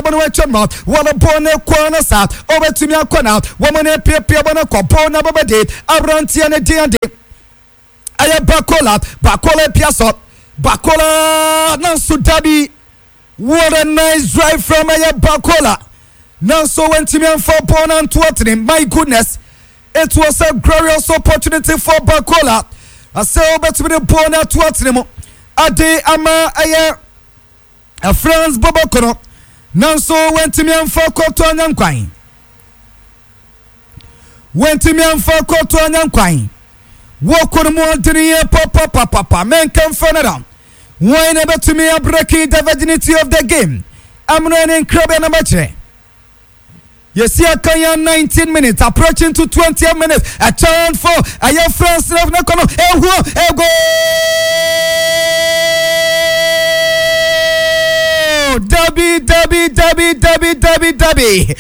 bɔ no atwa no wɔn bɔ ne kɔ no saa ɔbɛtumi akɔ na wɔn ne piapia bɔ no kɔ bɔ na bɛbɛde aberanteɛ ne den ade ɛyɛ Bakola. Bakola pia so, Bakola nanso dabi. What a nice drive from ɛyɛ Bakola, nanso wɔntumi amfa bɔɔl no anto atene. My goodness, it was a glorious opportunity for Bakola asɛ wobɛtumi de bɔɔl no ato atene mu ade ama ɛyɛ France bɔbɔkɔ no, nanso wɔntumi amfa kɔtɔ anya nkwan, wɔntumi amfa kɔtɔ anya nkwan. Wɔkɔ no mu ɔdene yɛ papapapapa. Menka mfa no da wɔn na bɛtumi abreak the virginity of the game. Amuna ne nkrabea no bɛkyerɛ yɛsi aka yɛn 19 minutes, approaching to 20 minutes. A chance for ɛyɛ France ne kɔ no ehuo ego dabi dabi dabi dabi dabi dabi.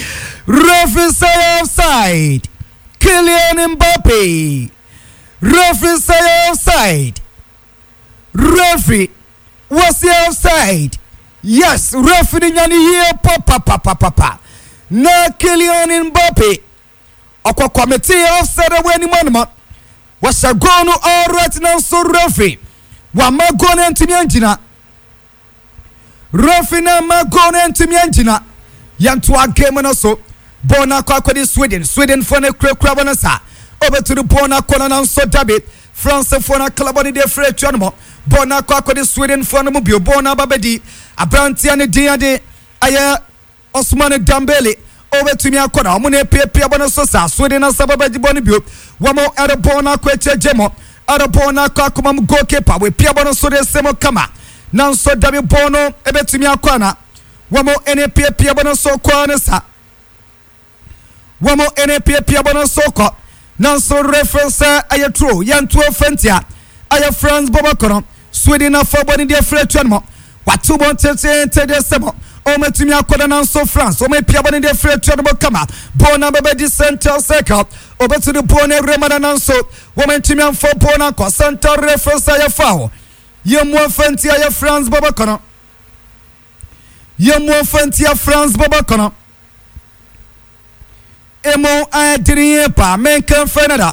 Referee say offside. Kylian Mbappe, referee say offside. Referee was offside. Yes, referee nyane yie papapapapa na Kylian Mbappe ɔkɔkɔmete offside wɔ anim anoma wɔhyɛ goal no. Alright, nanso referee wama goal no ntumi angyina. Referee no ama goal no ntumi angyina. Yɛntoa game no so. Bɔɔl no akɔ akɔde Sweden. Swedenfoɔ no kurakura bɔ no saa ɔbɛturu bɔɔl no akɔ no, nanso dabi, Francefoɔ no akalabɔ no deɛ firi atua no mɔ. Bɔɔl no akɔ akɔde Swedenfoɔ no mu bio. Bɔɔl no aba bɛdi aberanteɛ no din ade ɛyɛ Osman Dembele. Ɔbɛtumi akɔ na ɔmo na epiapia bɔ no so saa. Sweden asa bɛbɛgye bɔ no bio. Wɔn ɛrebɔ no akɔ akyire gye mo ɛrebɔ no akɔ akoma mu. Goalkeeper wɔapia bɔ no so de se mo kama, nanso dabi, bɔɔl no ɛbɛtumi akɔ ana wɔn ɛna epiapia bɔ no so kɔɔ ne sa. Wɔn ɛna epiapia bɔ no so kɔ, nanso referee sɛ ɛyɛ throw. Yɛnto fɛntia ɛyɛ France bɔbɔ kɔ no. Sweden afa bɔ ne deɛ firi atua no mu wato bɔ ntentente deɛ sɛ bɔ ɔmɛtumi akɔda, nanso France ɔmɛ pia bɔ ne deɛ firi atua no mu kama. Bɔɔl na bɛbɛdi center circle. Ɔbɛtu de bɔɔl no awura mu na nanso wɔn ntumi amfa bɔɔl no akɔ center. Referee sɛ ɛyɛ foul. Yɛn mu afɛntia ɛyɛ France bɔbɔ kɔ no. Yɛn mu afɛntia France bɔbɔ kɔ no. Emu ayɛdene yie paa. Menka mfɛ no da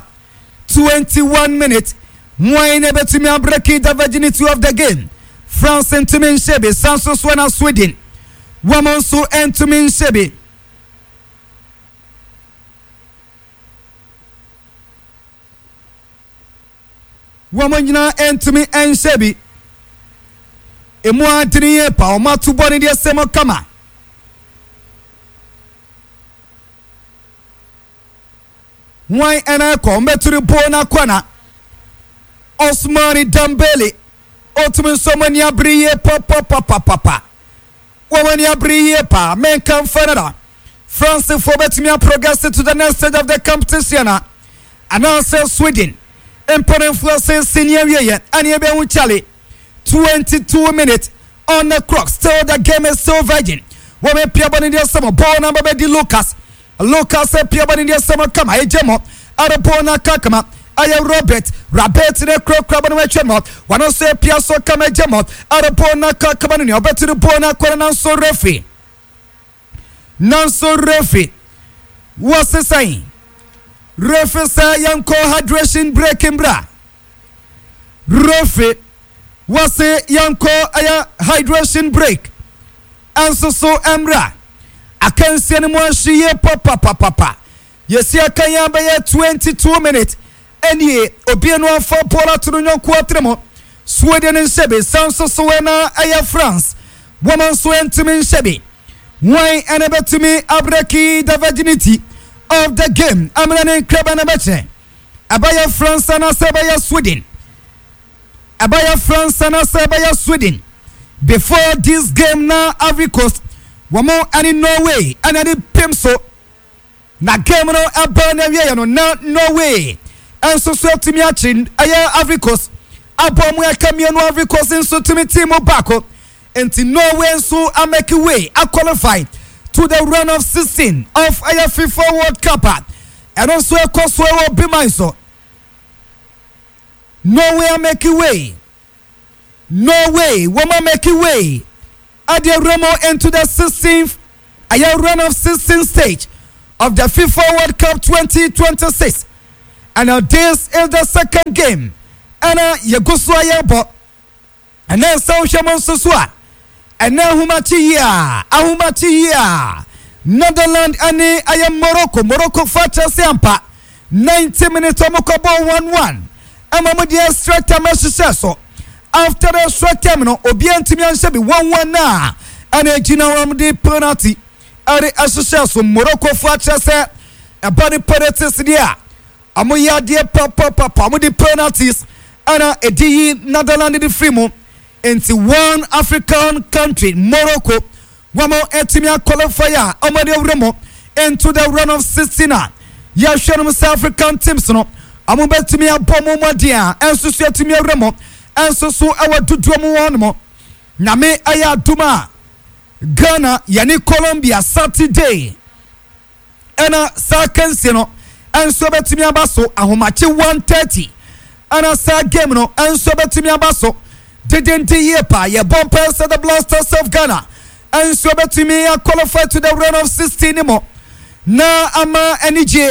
21 minutes wɔn na ebɛtumi abreak the virginity of the game. France ntumi nhyɛ bi, san so so na Sweden wɔn nso ntumi nhyɛ bi. Wɔn nyinaa ntumi nhyɛ bi. Emu adene yie paa. Wɔn ato bɔ ne deɛ sɛm kama. Wɔn ɛna ɛkɔ mbɛturi bɔɔl n'akɔ na Osman Dembele otumi nso wɔn ani abere yie papapapapa. Wɔn ani abere yie paa. Menka nfa no da Francefoɔ bɛtumi aprogress to the next stage of the competition a anaasɛ Sweden mpanimfoɔ sɛ ni awieɛ ɛne ɛbɛhu. Charlie, 22 minutes on the clock, still the game is still virgin. Wɔn apia bɔ ne deɛ sɛm. Bɔɔl na bɛbɛdi Lucas. Lucas apia bɔ ne deɛ sɛm kama. Ɛgye mɔ ɛde bɔɔl na aka kama ɛyɛ Robert. Robert ne kurakura bɔ ne wɔatwa mɔ. Wɔn nso apia so kama. Ɛgye mɔ ɛde bɔɔl na aka kama no nea ɔbɛto de bɔɔl na akɔ no, nanso referee, nanso referee wɔsesan. Referee sɛ yɛnkɔ hydration break mbra. Referee wɔse yɛnkɔ ɛyɛ hydration break ɛnso so mmra. Akansie no mu ahye yie papapapapa. Yɛsi aka yɛn bɛyɛ 22 minutes ɛnie. Obie no afa bɔɔl ato no nyɔnko atene mu. Sweden nhyɛ bi, san so so ɛna ɛyɛ France wɔn nso ntumi nhyɛ bi. Wɔn ɛna bɛtumi abreak the virginity of the game amena ne nkraba no bɛkyerɛ ɛbɛyɛ France anaasɛ ɛbɛyɛ Sweden, ɛbɛyɛ France anaasɛ ɛbɛyɛ Sweden. Before this game na Ivory Coast wɔn ɛne Norway ɛna de pem so na game no ɛbɔ na awieɛ no na Norway ɛnso so atumi akyi ɛyɛ Ivory Coast abɔ mu ɛka mmienu. Ivory Coast nso tumi team mu baako nti Norway nso amake way aqualify to the round of 16 of ɛyɛ FIFA World Cup a ɛno nso ɛkɔ so ɛwɔ biman so. Norway amake way. Norway wɔn amake way ade awura mu into the 16th. Ɛyɛ round of 16 stage of the FIFA World Cup 2026, and this is the second game ɛna yɛgu so a yɛrebɔ. Ɛnɛ nsa wohwɛ mu nso so a, ɛnɛ ahomakye yi a, ahomakye yi a, Netherland ɛne ɛyɛ Morocco. Morocco fa kyerɛ sɛ ampa 90 minutes ɔmo kɔbɔ 1-1, ɛma mo de extra time ahyehyɛ so. After the extra time no, obiara ntumi anhyɛ bi, 1-1 na ɛna egyina wɔn de penalty ɛde ahyehyɛ so. Morocco fa kyerɛ sɛ ɛba ne penalties deɛ a, ɔmo yɛ adeɛ papapapa. Ɔmo de penalties ɛna edi yi Netherland de firi mu. Nti one African country, Morocco, wɔn ɛtumi aqualify a wɔn de awura mu into the round of 16 a yɛhwɛ no sɛ African teams no, wɔn bɛtumi abɔ mu mmɔden a ɛnso so ɛtumi awura mu ɛnso so ɛwɔ dodoɔ mu wɔn mo. Nyame ɛyɛ adum a, Ghana yɛne Colombia Saturday ɛna saa kansie no ɛnso bɛtumi aba so ahomakye 1:30. Ɛna saa game no ɛnso bɛtumi aba so dedende yie paa. Yɛbɔ mpɛ sɛ the Black Stars of Ghana ɛnso bɛtumi qualify to the round of 16 mu na ama anigye.